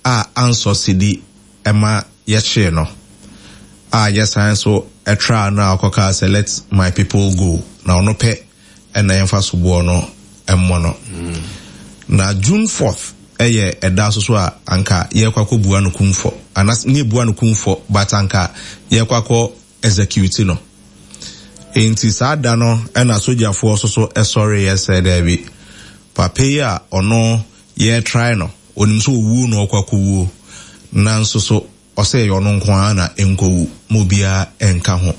a ansɔ sidi ma yɛkyee no a yɛsan nso traa no a ɔkɔkaa sɛ let my people go na ɔno pɛ na yɛmfa soboɔ no mmɔ no. Na June 4th yɛ ɛda nso so a anka yɛrekɔ akɔbua no kumfɔ anas ne yɛbua no kumfɔ but anka yɛrekɔ akɔ execute no. Enti saa da no na sogyafoɔ nso so sɔreeɛ sɛ daabi, papa yi a ɔno yɛretrae no, ɔnim sɛ ɔwuo na ɔrekɔ akɔwuo, nanso so ɔsɛ ɛyɛ ɔno nko ara na ɛnkɔwu, ma obiara nka ho.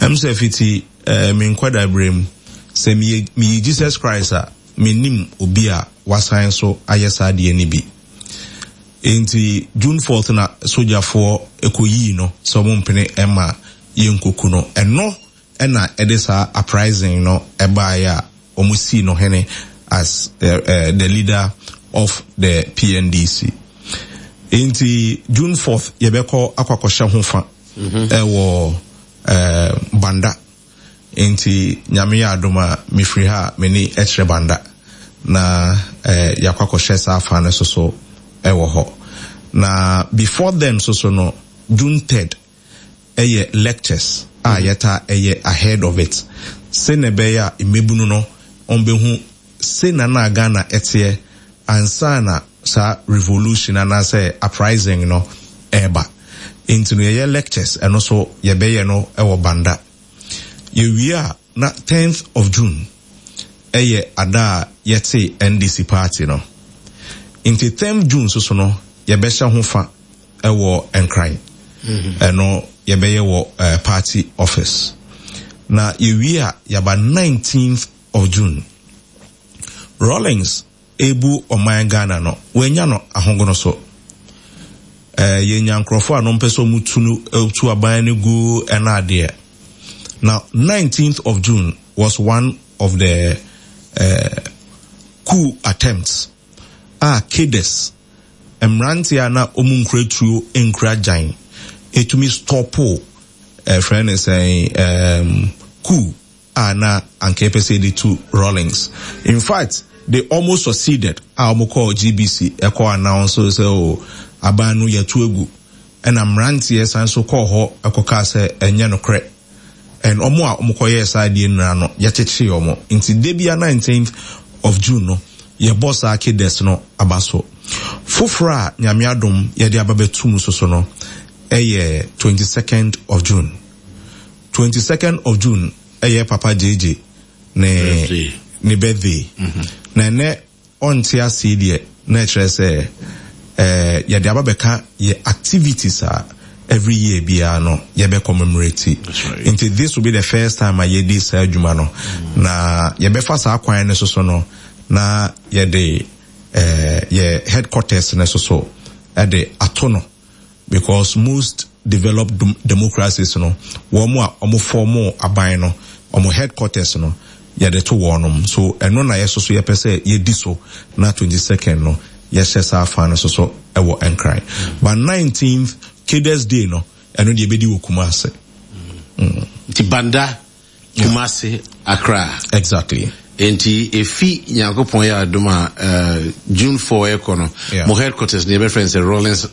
Ɛm sɛ fiti eh, me nkwadaa berɛ mu, sɛ meyɛ, meyi Jesus Christ a, mennim obi a wasan so ayɛ saa adeɛ no bi. Enti June 4th na sogyafoɔ kɔyii no sɛ wɔmpene mma yɛnkɔku no. Ɛno na ɛde saa uprising no baeɛ a wɔsii no hene as the leader of the PNDC. Enti June 4th yɛbɛkɔ akɔ akɔhyɛ ho fa ɛwɔ Banda. Enti Nyame yɛ adom a mefiri ha a m'ani kyerɛ Banda na yɛakɔ akɔhyɛ saa fa no soso ɛwɔ hɔ. Na before then soso no June 3rd yɛ lectures a yɛtaa yɛ ahead of it sɛnea ɛbɛyɛ a mmabunu no wɔbɛhu sɛnea na Ghana teɛ ansa na saa revolution anaasɛ uprising no ɛreba. Nti no yɛyɛ lectures ɛno nso yɛbɛyɛ no wɔ Banda. Yɛwie a na 10th of June yɛ ada a yɛtee NDC party no. Nti 10th June nso so no yɛbɛhyɛ ho fa wɔ Nkran. Ɛno yɛbɛyɛ wɔ party office. Na yɛwie a yɛaba 19th of June. Rawlings rebu ɔman Ghana no, wannya no ahogono so. Yɛnya nkurɔfoɔ a no mpɛ sɛ wɔtu no tu aban no gu ɛna adeɛ. Na 19th of June was one of the uh, coup attempts a cadres, mmeranteɛ a na wɔn nkura tuo nkura gyan, ɛtumi stɔpo ɛfrɛ ne sɛn um, coup a na anka yɛpɛ sɛ yɛde tu Rawlings. In fact, they almost succeeded a wɔn kɔɔ GBC ɛkɔ announce sɛ o oh, aban no yɛtu agu. Ɛna mmeranteɛ san so kɔɔ hɔ ɛkɔkaa sɛ ɛnyɛ nokorɛ. And wɔn a wɔkɔyɛɛ saa adeɛ nyinaa no, yɛkyekyee wɔn. Nti da bia 19th of June no, yɛbɔ saa cadets no aba so. Foforɔ a Nyame adom yɛde aba bɛto mu soso no, ɛyɛ 22nd of June. 22nd of June ɛyɛ Papa JJ ne ne birthday. Na ɛnɛ ɔnte ase yi deɛ na ɛkyerɛ sɛ eh, yɛde aba bɛka yɛ activities a every year biara no yɛbɛ commemorate. Nti this will be the first time a yɛdi saa adwuma no. Na yɛbɛfa saa kwan no so so no na yɛde eh, yɛ headquarters no so so ɛde ato no because most developed democracies no wɔn a wɔn fɔɔmo aban no wɔn headquarters no yɛde to wɔnom so ɛno na yɛso so yɛpɛ sɛ yɛdi so na 22nd no yɛhyɛ saa fa no so so ɛwɔ Nkran but 19th Cadres Day no ɛno deɛ yɛbɛdi wɔ Kumasi. Nti Banda Kumasi, Accra. Exactly. Nti efi Nyankopɔn yɛ adom a uh, June 4 ɛkɔ no, yeah. mo headquarters no yɛbɛfrɛ no sɛ Rawlings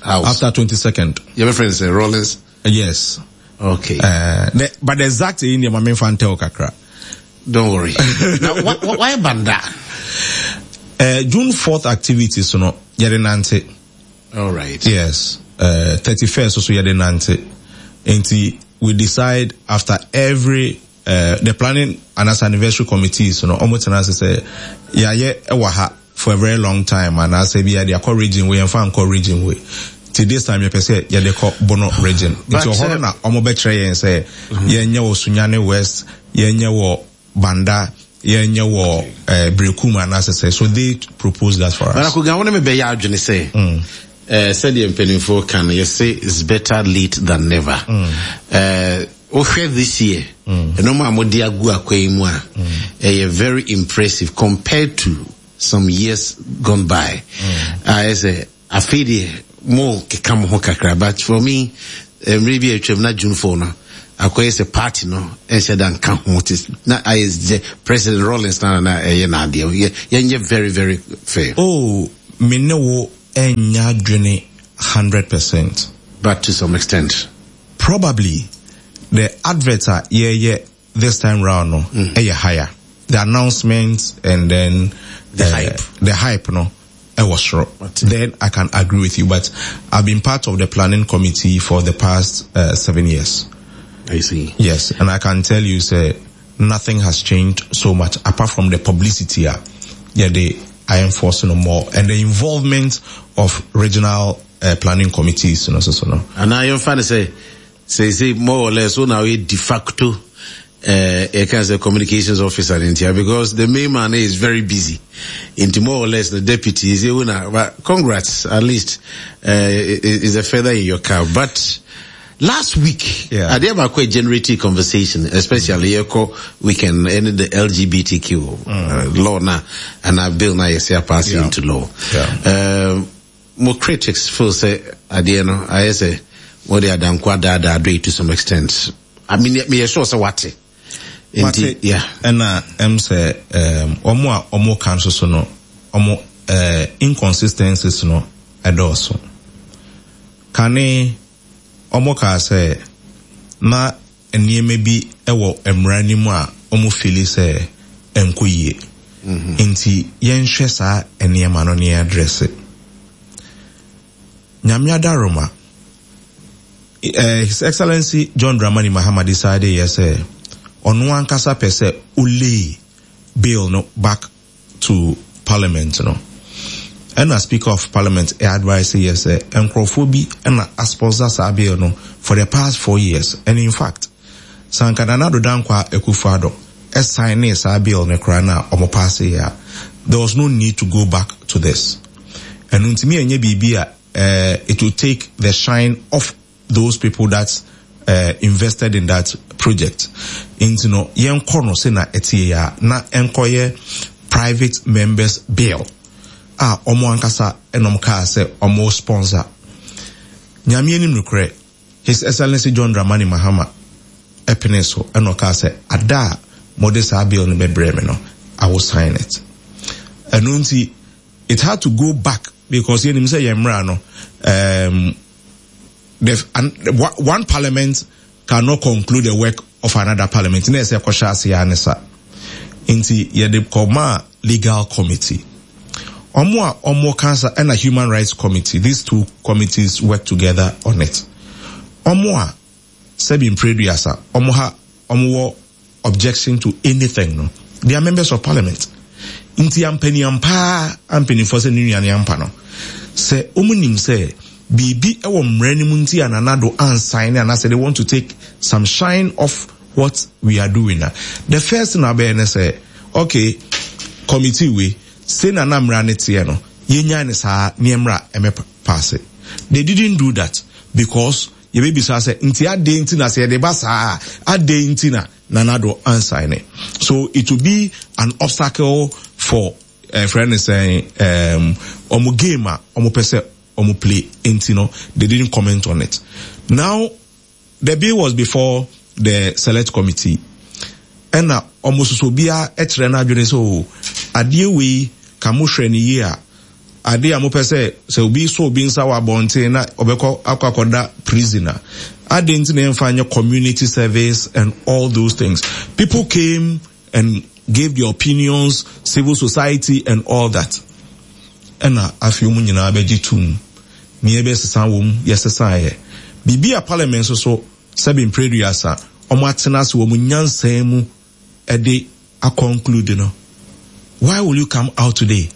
House. After 22nd. Yɛbɛfrɛ no sɛ Rawlings. Yes. Okay. The, but the exact in the mame fan tell kakra. Don't worry. Now, why, why Banda? June 4th activities no, yɛde nante. All right. Yes. 31st so yɛde nante. Nti we decide after every the planning and as anniversary committees no ɔmo tena ase sɛ yɛayɛ ɛwɔ ha for a very long time anaasɛ bi yɛde akɔ region wei yɛmfa nkɔ region wei. Nti this time yɛpɛ sɛ yɛde kɔ Bono region. Nti ɔhɔ no na ɔmo bɛkyerɛ yɛn sɛ yɛnyɛ wɔ Sunyani West, yɛnyɛ wɔ Banda, yɛnyɛ wɔ eh, Berekum anaasɛ sɛ. So they propose that for us. Barakogan, wo ne me bɛyɛ adwene sɛ mm. eh, sɛdeɛ mpanimfoɔ ka no yɛse is better late than never. Mm. Eh, wohwɛ this year mm. ɛnɔma a mode agu akwa yi mu a ɛyɛ very impressive compared to some years gone by. Ayɛ sɛ Afei deɛ mo keka mo ho kakra but for me mmerɛ bi a atwam na June 4 no akɔyɛ sɛ party no nhyɛ da nka ho te na ayɛ sɛ President Rawlings na na ɛyɛ n'adeɛ yɛnyɛ very very fair. Oh me ne wo. ɛnyɛ adwene 100%. But to some extent. Probably the advert a yɛyɛ this time round no ɛyɛ higher. The announcement and then the hype. The hype no ɛwɔ soro. Then I can agree with you, but I've been part of the planning committee for the past 7 years. I see. Yes, and I can tell you, sɛ, nothing has changed so much apart from the publicity. Yeah, they are enforcing more and the involvement of regional planning committees. So, no. And now you're fine to say more or less, so now de facto can say communications officer in here because the main man is very busy. Into more or less the deputy is a but congrats, at least is a feather in your cap. But last week, I did have a quite generative conversation, especially mm. weekend and the LGBTQ law now and our bill now is passing into law. More critics feel sɛ adeɛ no ayɛ sɛ wɔde adankwa daadaa do to some extent. I mean, me sure sɛ wate. Nti, yeah. Ɛna sɛ ɔmo a ɔmo ka nso so no, ɔmo inconsistencies no ɛdɔɔso. Kane ɔmo kaa sɛ na nneɛma bi ɛwɔ mmara no mu a ɔmo feel sɛ ɛnkɔ yie. Nti yɛnhwɛ saa nneɛma no ne address. Nyame adaroma, His Excellency John Dramani Mahama decided yɛ sɛ ɔno ankasa pɛ sɛ ɔlay bill no back to parliament no. Ɛna Speaker of Parliament advice yɛ sɛ nkurɔfoɔ bi ɛna asponsor saa bill no for the past 4 years, and in fact, sanka Nana Addo Dankwa Akufo-Addo ɛsign saa bill no koraa na ɔmo pass yɛ a, there was no need to go back to this. Ɛno ntumi ɛnyɛ biribi a it will take the shine off those people that invested in that project. Nti no yɛnkɔ no sɛ na ɛteɛ yɛ a na ɛnkɔyɛ private members bill a ɔmo ankasa ɛna ɔmo kaa sɛ ɔmo sponsor. Nyame anim nokorɛ, His Excellency John Dramani Mahama ɛpene so ɛna ɔkaa sɛ ada a mode saa bill no bɛbrɛ me no, I will sign it. Ɛno nti it had to go back because yɛnim sɛ yɛn mmara no, the and, one parliament cannot conclude the work of another parliament na ɛsɛ ɛkɔhyɛ ase ya ne sa. Nti yɛde kɔmaa legal committee, ɔmo a ɔmo kansa ɛna human rights committee. These two committees work together on it. Ɔmo a sɛbi mpreduasa ɔmo ha ɔmo wɔ objection to anything no, they are members of parliament. Nti ampaniampaa ampanimfoɔ sɛ ne nua ne ampa no sɛ ɔmo nim sɛ biribi wɔ mmara no mu nti a Nana Addo ansign ne anaasɛ they want to take some shine off what we are doing na the first thing abɛyɛ ne sɛ, okay, committee wei sei na na mmara no teɛ no, yɛnyae ne saa ne mmara ɛmɛ pass. They didn't do that because yɛbɛbisa sɛ nti adeɛ nti na sɛ yɛde ba saa a adeɛ nti na Nana Addo ansign it. So it will be an obstacle for friend is saying ɔmo game a ɔmo pɛ sɛ ɔmo play. Nti no they didn't comment on it. Now the bill was before the select committee ɛna ɔmo soso obiara ɛkyerɛ n'adwene sɛ o adeɛ wei ka mo hwɛ ne yie a adeɛ a mopɛ sɛ obi so obi nsa wɔ abɔnten na ɔbɛkɔ akɔda prison a adeɛ nti na yɛmfa nyɛ community service and all those things. People came and gave their opinions, civil society and all that. Ɛna afei wɔn nyinaa bɛgye tum nea ɛbɛsesa wɔm yɛsesaeɛ biribi a parliament nso so sɛbi mprɛduasa wɔn atena ase wɔn nyansan mu ɛde aconclude no, why will you come out today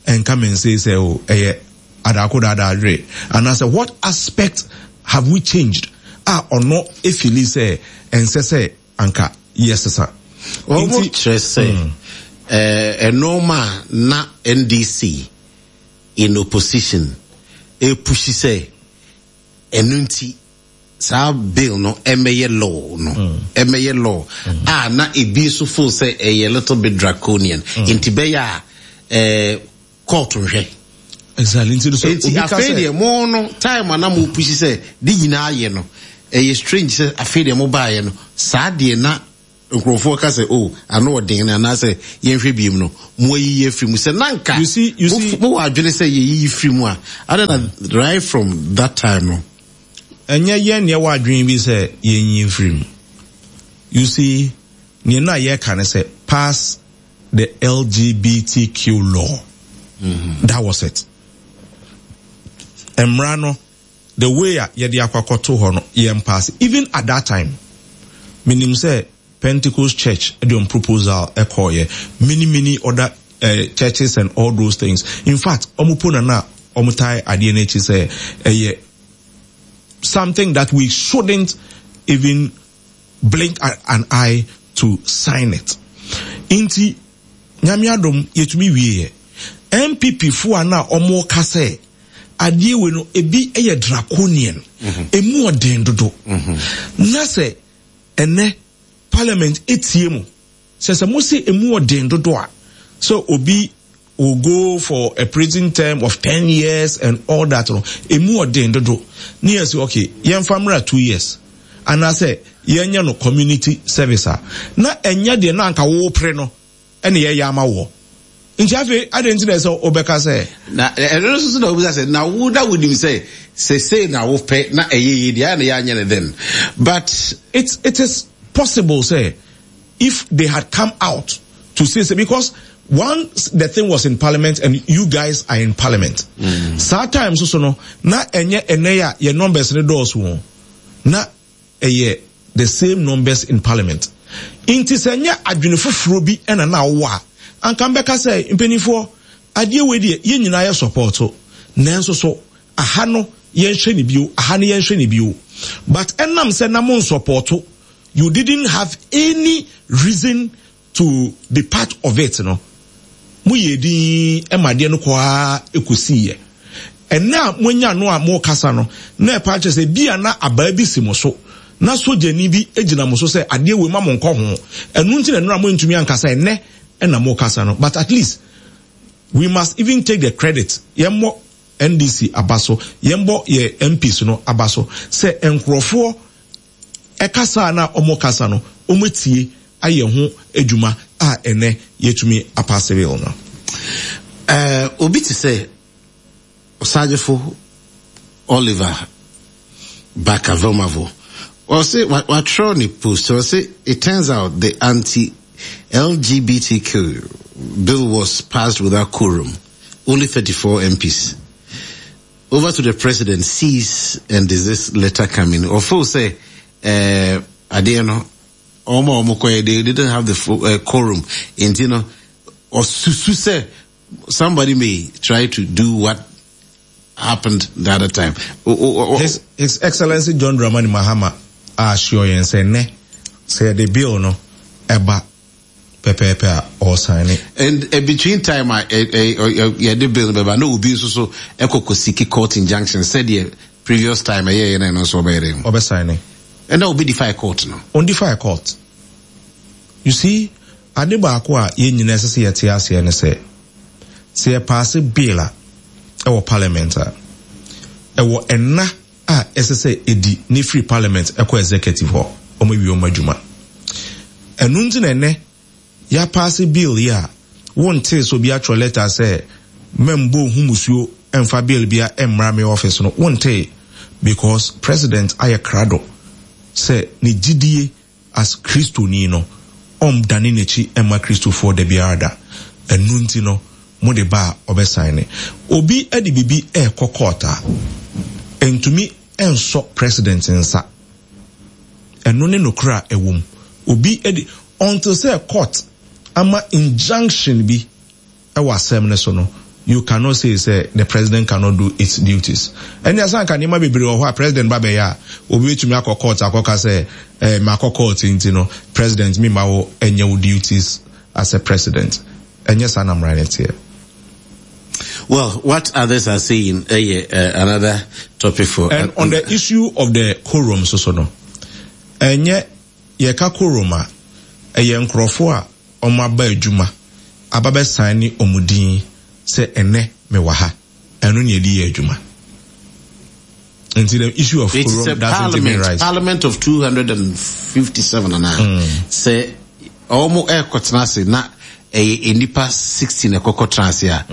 and come and say sɛ o ɛyɛ adako daadaa adwere anaasɛ what aspect have we changed a ɔno efeel sɛ ɛnsɛ sɛ anka yɛsesa? Wɔn kyerɛ sɛ ɛnɔɔma a na NDC in opposition epush sɛ ɛno nti saa bill no ɛmɛyɛ law no ɛmɛyɛ law a na ebi nso feel sɛ ɛyɛ little bit draconian nti bɛyɛ a court nhwɛ. Exactly, nti so nti afei deɛ mo no time a na mo push sɛ de nyinaa yɛ no, ɛyɛ strange sɛ afei deɛ mo baayɛ no saa deɛ na. nkurɔfoɔ ka sɛ oh ano ɔden no anaasɛ yɛnhwɛ biem no mo ayiyi afiri mu sɛ nanka You see, you see, mo wɔ adwene sɛ yɛyiyi firi mu a adɛn na right from that time no. Ɛnyɛ yɛn na yɛwɔ adwene bi sɛ yɛnyi mfiri mu. You see, nea na yɛka ne sɛ pass the LGBTQ law. Mm-hmm. That was it. Mmara no, the way a yɛde akɔ akɔto hɔ no, yɛn pass. Even at that time, menim sɛ Pentecost Church de wɔn proposal kɔɔyɛ, many many other uh, churches and all those things. In fact, wɔn po na na wɔn tae adeɛ no akyi sɛ ɛyɛ something that we shouldn't even blink an eye to sign it. Nti, nyame adom yɛtumi wieɛ. NPP fo a na wɔn ka sɛ adeɛ wei no ebi yɛ draconian, emu ɔden dodo. Na sɛ Ɛnnɛ parliament tie mo sɛ sɛ mo se emu ɔden dodo a sɛ obi will go for a prison term of 10 years and all that no emu ɔden dodo ne yɛ sɛ okay yɛmfa mmra 2 years anaasɛ yɛnyɛ no community service a na ɛnyɛ deɛ na anka wopere no ɛna yɛyɛ ama woɔ. Nti afei adɛn nti na ɛsɛ wobɛka sɛ. Na ɛno nso so na wobisa sɛ na wo na wonim sɛ sesei na wopɛ na ɛyɛ yie deɛ ayɛ na yɛanyɛ no then but. It, it is possible sɛ if they had come out to say sɛ because once the thing was in parliament and you guys are in parliament. Mm. Saa time so so no na ɛnyɛ ɛnɛ a yɛ numbers ne dɔɔso o na ɛyɛ the same numbers in parliament nti sɛ nyɛ adwene foforɔ bi na na wowɔ a anka mbɛka sɛ mpanimfoɔ adeɛ wei deɛ yɛn nyinaa yɛ support nanso so aha no yɛnhwɛ ne bio aha no yɛnhwɛ ne bio but ɛnam sɛ na mo nsupporto you didn't have any reason to be part of it no, mo yɛɛ dinn ma adeɛ no kɔ ara kɔsiiɛ. Ɛnnɛ a moanya no a morekasa no, na ɛpa kyerɛ sɛ bi a na abaa bi si mo so, na sogyani bi gyina mo so sɛ adeɛ wei ma mo nkɔ ho. Ɛno nti na nnora moantumi ankasa, ɛnnɛ na morekasa no. But at least, we must even take the credit. Yɛmmɔ NDC aba so, yɛmmɔ yɛ MPs no aba so sɛ nkurɔfoɔ Ɛkasa a na wɔkasa no, wɔatie ayɛ ho adwuma a ɛnnɛ yɛatumi apaase bill no. Eh, obi te sɛ Ɔsagyefo Oliver Barker-Vormawor, ɔse watwerɛ ne post, ɔse it turns out the anti-LGBTQ bill was passed without quorum, only 34 MPs. Over to the president cease and desist letter coming. Ɔfo sɛ eh, adeɛ no wɔn a wɔn kɔɛ they didn't have the uh, quorum nti no ɔsusu sɛ somebody may try to do what happened the other time. O, o, o, His, His Excellency John Dramani Mahama assure yɛn sɛ nnɛ sɛ yɛde bill no ɛba pɛpɛɛpɛ a ɔresaene. And uh, between time a yɛde bill no bɛba na obi nso so ɛkɔ kɔ siki court injunction sɛdeɛ previous time ɛyɛ yɛ na ɛno nso ɔbɛyɛ dɛ. Ɔbɛsaene. Ɛna obi defy court no. On defy court. You see, ade baako a yɛn nyinaa ɛsɛ sɛ yɛte aseɛ ne sɛ, sɛ yɛpaase bill a ɛwɔ parliament a, ɛwɔ ɛnna a ɛsɛ sɛ ɛdi na ɛfiri parliament kɔ executive hɔ, wɔn awie wɔn adwuma. Ɛno nti na ɛnɛ yɛapaase bill yi a wontee sɛ obi atwerɛ letter sɛ mɛmbɔ ohu musuo mfa bill bia mmra me office no, wontee because president ayɛ krado sɛ ne gyidie As Kristoni no, ɔndane n'akyi mma Kristofoɔ dabiara da. Ɛno nti no, mode ba a, ɔbɛsaene. Obi de biribi rekɔ court a, ɛntumi nsɔ President nsa. Ɛno ne nokorɛ a ɛwɔ mu. Obi de, until sɛ court ama injunction bi wɔ asɛm no so no, you cannot say sɛ the president cannot do its duties. Ɛnde asan anka nneɛma bebree wɔ hɔ a president ba bɛyɛ a, obi betumi akɔ court akɔka sɛ eh, makɔ court nti no, president me mma wo nyɛ wo duties as a president. Ɛnyɛ saa na mmara no teɛ. Well, what others are saying, uh, yeah, uh, another topic for. And on the issue of the quorum, so so no, ɛnyɛ yɛka quorum a, ɛyɛ nkurɔfoɔ a wɔn aba adwuma aba bɛ sign wɔn din sɛ ɛnɛ me wɔ ha ɛno na yɛde yɛ adwuma nti the issue of quorum doesn't even rise. Parliament of 257 anaa mm. sɛ. Wɔn ɛrekɔtena ase na ɛyɛ nnipa 60 na ɛkɔkɔ tena ase a,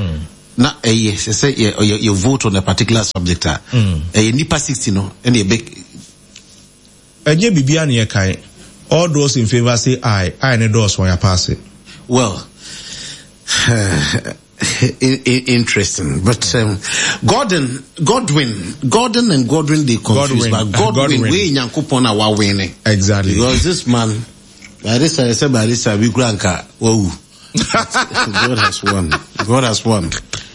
na ɛyɛ sɛ sɛ yɛ yɛ yɛ vote on a particular subject a, ɛyɛ nnipa 60 no ɛna ɛbɛ. Ɛnyɛ biribiara na yɛkae. All those in favour say aye, aye ne dɔɔso a yɛapaase. Well, interesting. But Gordon, Godwin, Gordon and Godwin, they confused. Godwin. But Godwin, Godwin. we nyankopɔn na wa win. Exactly. Because this man, by this time, say by this time, we grant wow. God has won. God has won.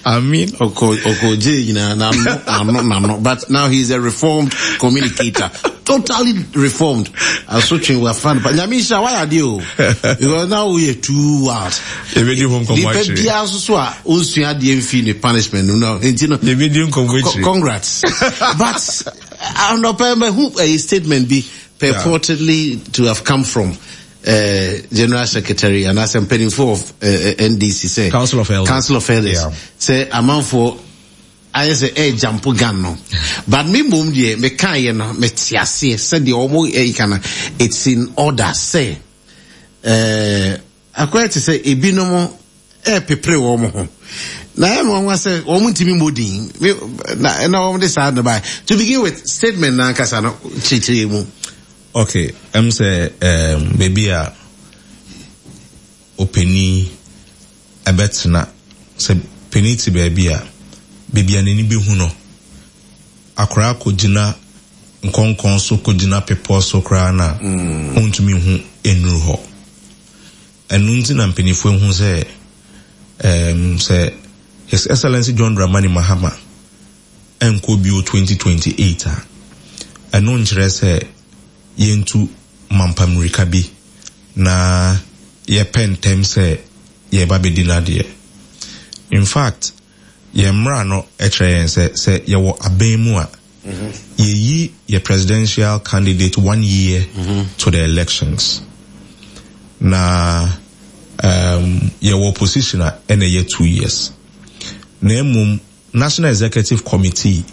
I mean, Oko, Oko J, na, na, no, na, no, But now he's a reformed communicator. Totally reformed. Asotwe were fun. But Nyamisha, why are you? Because now we are too wild. Yɛbɛdi ho nkɔmmɔ Nipa akyire. biara nso so a onsua adeɛ mfi ne punishment no no. Nti no. Yɛbɛdi nkɔmmɔ akyire. Congrats. But anɔpa mahu a statement bi purportedly to have come from General Secretary anaasɛ mpanimfoɔ of NDC sɛ Council of Elders. Council of Elders sɛ amanfoɔ ayɛ sɛ ɛrejump gun no, but me mmom deɛ mekaeɛ no mete aseɛ sɛdeɛ wɔn ɛka no, it's in order sɛ ɛɛ akɔyɛ te sɛ ebinom ɛrepepere wɔn ho na ɛyɛ nwanwa sɛ wɔn ntumi mmɔ din na ɛna wɔn de saa no ba. To begin with, statement na ankasa no kyerɛkyerɛ mu. Okay, ɛm sɛ um, baabi a ɔpanin ɛbɛtena, sɛ panin te baabi a, baabi a n'ani bɛhu no, akwaraa kɔgyina nkɔnkɔn so kɔgyina bepɔ so koraa na ɔntumi nhu nnuru hɔ. Ɛno nti na mpanimfoɔ ahu sɛ um, sɛ His Excellency John Dramani Mahama ɛnkɔ bio 2028 a, ɛno nkyerɛ sɛ yɛntu mampa mmirika bi na yɛpɛ ntɛm sɛ yɛreba bɛdi no adeɛ. In fact, yɛn mmara no kyerɛ yɛn sɛ, sɛ yɛwɔ abɛn mu a, yɛyi yɛ presidential candidate one year to the elections. Na yɛwɔ opposition a, ɛna ɛyɛ 2 years. Na mmom, National Executive Committee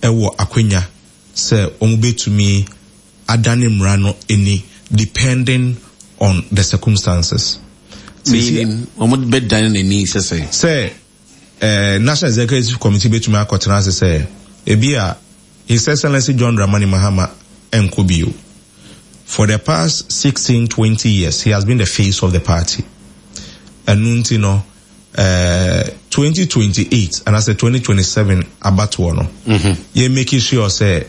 ɛwɔ akwanya sɛ wɔn bɛtumi adane mmara no ani depending on the circumstances. Meaning, wɔn bɛdane n'ani sɛ sɛ? Sɛ National Executive Committee bɛtumi akɔtena ase sɛ ebi a His Excellency John Dramani Mahama ɛnkɔ bio. For the past 16, 20 years, he has been the face of the party. Ɛno nti no, 2028 anaasɛ 2027 abatoɔ no, yɛ make sure sɛ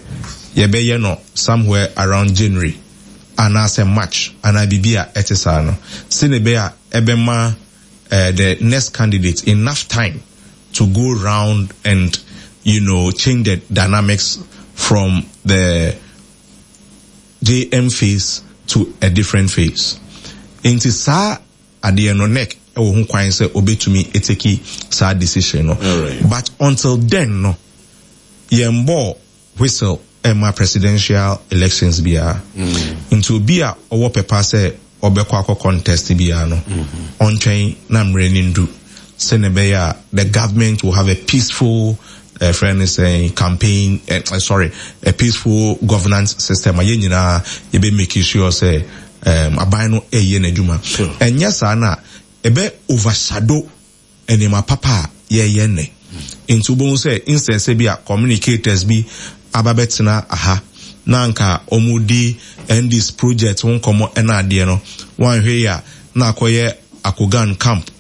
yɛbɛyɛ no somewhere around January anaasɛ March anaa biribi a ɛte saa no, sɛnea ɛbɛyɛ a ɛbɛma the next candidate enough time to go round and change the dynamics from the JM phase to a different phase. Nti saa adeɛ no, NEC ɛwɔ ho kwan sɛ obetumi etake saa decision no. But until then no, yɛn bɔ whistle ɛma presidential elections biara. Nti obi a ɔwɔ pɛpa sɛ ɔbɛkɔ akɔ contest biara no, ɔntwɛn na mmerɛ no ndu sɛnea ɛbɛyɛ a the government will have a peaceful friend is saying campaign, sorry, a peaceful governance system a yɛn nyinaa yɛbɛ make sure sɛ aban no ɛyɛ n'adwuma. Ɛnyɛ saa na ɛbɛ overshadow nneɛma papa a yɛyɛ nnɛ. Nti wobɛhu sɛ instead sɛ bi a communicators bi aba bɛtena aha na anka wɔn di NDC project ho nkɔmmɔ ɛna adeɛ no, wɔanhwɛ yi a na akɔyɛ Akogan camp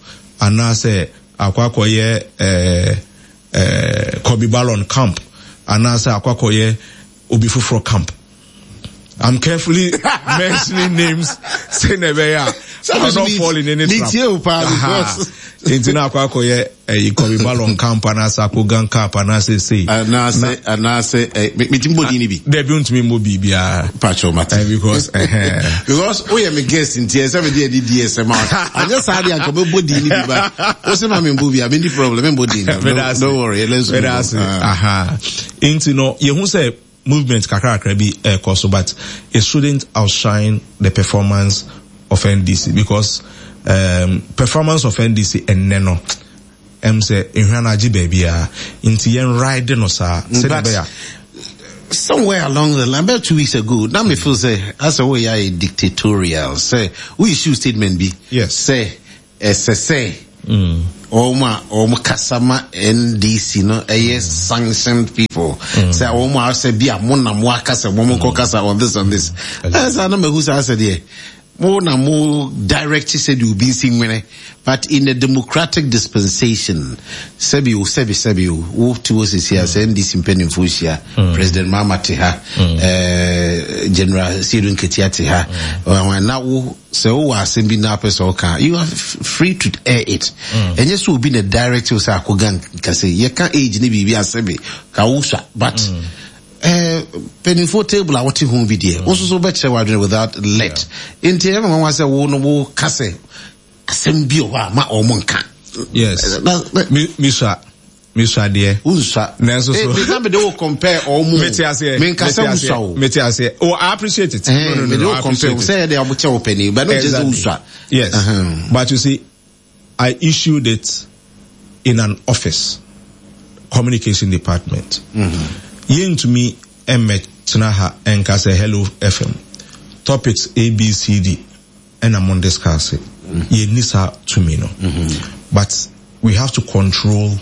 anaasɛ akɔyɛ Kobe Ballon camp anaasɛ akɔyɛ obi foforɔ camp. I'm carefully mentioning names sɛnea ɛbɛyɛ a I will not fall in any trap. Nti na akɔyɛ ɛyi Kobe Ballon camp anaasɛ Akogan camp anaasɛ sei. Anaasɛ metumi bɔ din ni bi. Dɛbi, ntumi mbɔ biribiara. Patrol mate. Because Because woyɛ me guest nti ɛsɛ me de ɛdi di ɛsɛ ma anyɛ saa de anka mɛbɔ din ni bi ba o sɛ ma mi mbɔ bi a mi ni problem mi mbɔ din no. Don't worry, let's go. Aha, nti no yehu sɛ movement kakrakra bi ɛkɔ so, but it shouldn't outshine the performance of NDC because performance of NDC ɛnnɛ no sɛ ehwa no agye baabi a nti yɛn ride no saa sɛdeɛ ɛbɛyɛ a. Somewhere along the line, about 2 weeks ago, na me feel sɛ asɛ woyɛ ayɛ dictatorial sɛ wo issue statement bi. Yes. Sɛ ɛsɛ sɛ wɔn a wɔn kasa ma NDC no ɛyɛ sanctioned people. Sɛ wɔn a sɛ bi a mo na mo akasa wɔn nkɔ kasa on this on this. Ɛsɛ na mehu sɛ asɛ deɛ mo na mo direct sɛ deɛ obi nsi nwene, but in a democratic dispensation, sɛbi o, sɛbi sɛbi o, wo te hɔ sisi a, sɛ NDC mpanimfoɔ hyia, President Mahama te ha, General Siedu Nketia te ha, na wo sɛ wowɔ asɛm bi na apɛ sɛ ɔka, you are free to air it. Ɛnyɛ sɛ obi na direct wo sɛ akɔga nkasɛ yɛka age ne biribi asɛbi ka wo sua, but mpanimfoɔ table a wote ho bi deɛ, wo nso so wobɛkyerɛ w'adwene without let. Nti ɛyɛ nwanwa sɛ wo no wo ka sɛ asɛm bi wɔ hɔ a ma ɔmo nka. Yes. Misua. Misua deɛ. Wonsua. Nanso so. Eh, na mede wo compare ɔmo. Mete aseɛ. Menka sɛ wosua o. Mete aseɛ. Oh, I appreciate it. No, no, no. Mede wo compare. Sɛ yɛ de ɔmo kyɛ wo panin, but no kyerɛ sɛ wosua. Yes. But you see, I issued it in an office, communication department. Yɛntumi mmɛtena ha nka sɛ Hello FM topics ABCD ɛna mo discuss. Yɛnni saa tumi no. But we have to control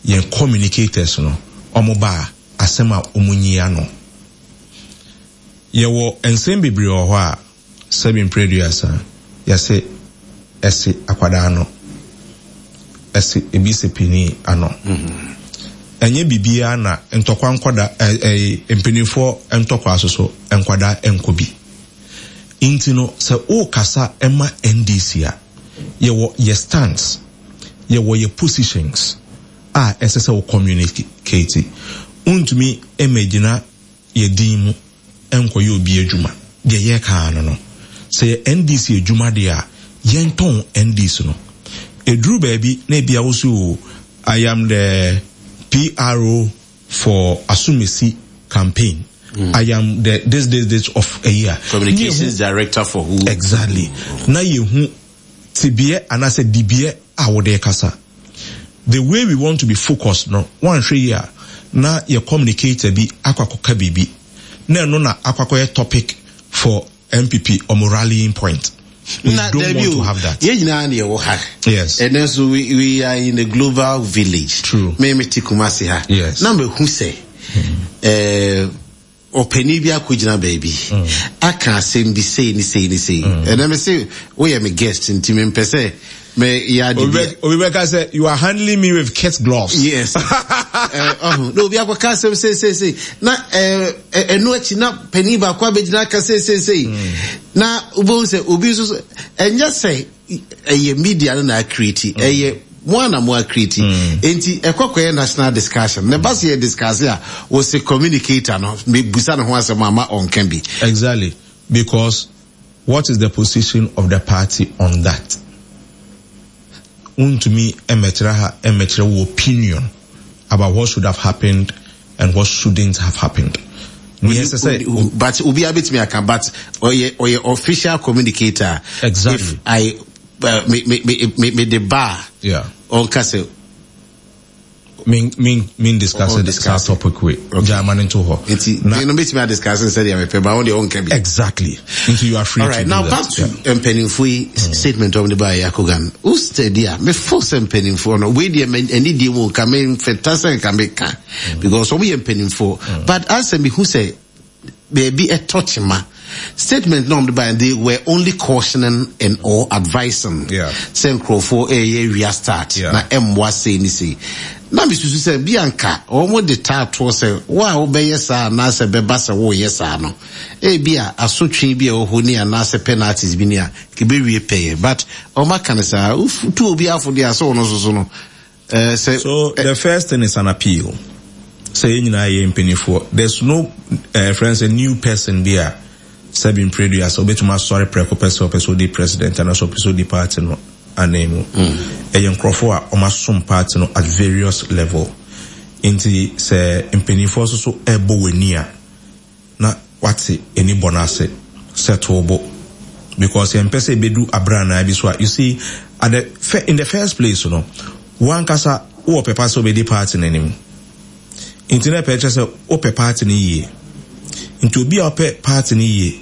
yɛn communicators no, wɔn ba a, asɛm a wɔn nyi ano. Yɛwɔ nsɛm bebree wɔ hɔ a, Sɛbi mprɛ aduasa, yɛse ɛse akwadaa ano, ɛse ebi se panin ano. Ɛnyɛ biribiara na ntɔkwa nkɔda ɛɛ mpanimfoɔ ntɔkwa so so nkwadaa nkɔ bi. Nti no sɛ wokasa ma NDC a, yɛwɔ yɛ stands, yɛwɔ yɛ positions a ɛsɛ sɛ wo communicate. Wontumi mmɛgyina yɛ din mu nkɔyɛ obi adwuma. Deɛ yɛreka ara no no. Sɛ yɛ NDC adwuma deɛ a, yɛntɔn NDC no. Ɛduru baabi na ebia wo se oo, I am the PRO for Asumesi campaign. I am the this this this of ayi a. Communications director for who? Exactly. Na yɛhu tebeɛ anaasɛ dibeɛ a wode rekasa. The way we want to be focused no, woanhwɛ yie a, na yɛ communicator bi akɔ akɔka biribi, na ɛno na akɔ akɔyɛ topic for NPP wɔn rallying point. We Na don't dabi want to o, have that. yɛn nyinaa na yɛwɔ ha. Yes. Ɛnɛ nso we, we are in a global village. True. Me me te Kumasi ha. Yes. Na mehu sɛ, eh, Ɔpanin bi akɔgyina baabi aka asɛm bi sei ne sei ne sei. Ɛnɛ me se woyɛ me guest nti mempɛ sɛ me yɛ ade bi. Obi bɛka sɛ you are handling me with kit gloves. Yes. Ɔho na obi akɔka asɛm sei sei sei na ɛno akyi na panin baako abɛgyina aka sei sei sei na wobɛhu sɛ obi nso so ɛnyɛ sɛ ɛyɛ media no na akiriti mm. ɛyɛ mo a na mo akiriti mm. nti ɛkɔ kɔyɛ national discussion na ɛba sɛ yɛ discuss a wɔsɛ communicator no mebusa ne ho asɛm ama ɔnka bi. Exactly, because what is the position of the party on that? Wontumi mmɛkyerɛ ha mmɛkyerɛ wo opinion about what should have happened and what shouldn't have happened. Nea ɛsɛ sɛ. But obiara betumi aka, but ɔyɛ ɔyɛ official communicator. Exactly. If I me me me me me de ba. Yeah. Ɔnka sɛ. Me me me discuss it saa topic wei. Okay. Gya no nto hɔ. Nti na no betumi a discuss sɛ deɛ mepɛ ba wɔn deɛ ɔnka bi. Exactly. Nti you are free All right, to do now that. Back to mpanimfoɔ yi statement wɔn de ba yɛ akogan. O steady a me fo sɛ mpanimfoɔ no wei deɛ ɛni deɛ mu nka me nfɛta sɛ nka me ka because wɔn yɛ mpanimfoɔ, but asɛ mi hu sɛ baabi ɛtɔ kyema statement na wɔn de ba yɛ, they were only cautioning and or advising sɛ nkurɔfoɔ ɛyɛ wia start na ɛmmoa sei ne sei. Na me susu sɛ bi anka wɔn de taa toɔ sɛ wo a wobɛyɛ saa anaasɛ bɛba sɛ woyɛ saa no, ebia asotwe bi a ɛwɔ hɔ ni anaasɛ penalties bi ni a, ɛbɛwie pɛyɛ. But wɔn aka no saa, wotu obi afo deɛ a sɛ ɔno nso so no, eh, sɛ. So the first thing is an appeal. Sɛ yɛn nyinaa yɛ mpanimfoɔ, there's no eh, friend sɛ new person bi a sɛbi mprɛdua sɛ obetumi asɔre prɛko pɛ sɛ ɔpɛ sɛ odi president anaasɛ ɔpɛ sɛ odi party no anan mu. Ɛyɛ nkurɔfoɔ a wɔasom party no at various level. Nti sɛ mpanimfoɔ nso so ɛrebɔ w'ani a, na wate ani bɔ no ase sɛ to wo bo because yɛmpɛ sɛ ebedu abranaa bi so a, you see, at the in the first place no, wo ankasa wowɔ pɛpa sɛ wobɛdi party no anim, nti na ɛpɛ kyerɛ sɛ wopɛ party no yie. Nti obi a ɔpɛ party no yie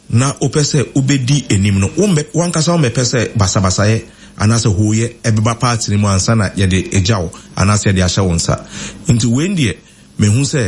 na wopɛ sɛ wobɛdi anim no, wommɛ, w'ankasa wommɛpɛ sɛ basabasayɛ anaasɛ hooyɛ ɛbɛba party no mu ansa na yɛde agya wo anaasɛ yɛde ahyɛ wo nsa. Nti wei deɛ, mehu sɛ.